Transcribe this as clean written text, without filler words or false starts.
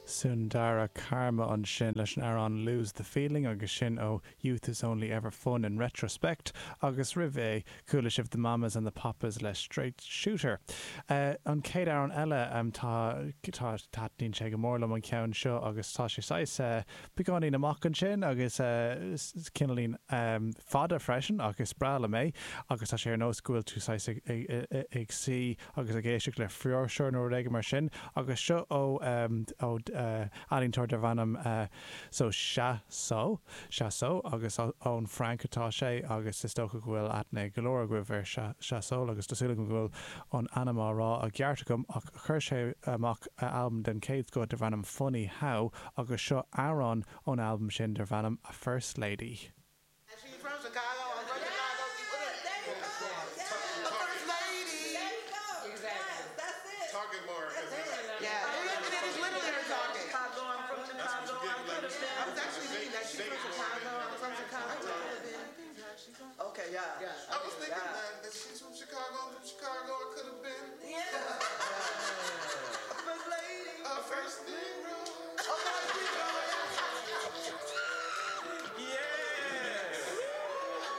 Sundara Karma ansin leis an amhrán Lose the Feeling agus sin ó Youth Is Only Ever Fun in Retrospect agus roimh é chuala sibh The Mamas and the Papas le Straight Shooter. An chéad amhrán eile tá tá taitníonn sé go mór liom an ceann seo agus tá sé saghas beagáinín amach ansin agus cineáilín fada freisin ach is breá liom é agus tá sé ar nós go bhfuil tú saghas ag suí agus ag éisteacht le fuirseoir nó rud éigin mar sin agus seo ó ó ealaíontóir darb ainm so Chassol Chassol agus ón Fhrainc atá sé agus is dócha go bhfuil aithne ag go leor agaibh ar Chassol agus tá súil agam go bhfuil an ainm á rá i gceart agam ach chuir sé amach albam den chéad scoth darb ainm Funny How agus seo amhrán ón albam sin darb ainm A First Lady. She's from Chicago. I'm from Chicago. There you go. A first lady. There you go. Exactly. Yes, that's it. Talking more. Yeah, it, it is literally her talking. Chicago. I'm from Chicago. I could have been. I was actually thinking that she's from Chicago. I'm from Chicago. I could have been. Okay, yeah. I was thinking that, that she's from Chicago.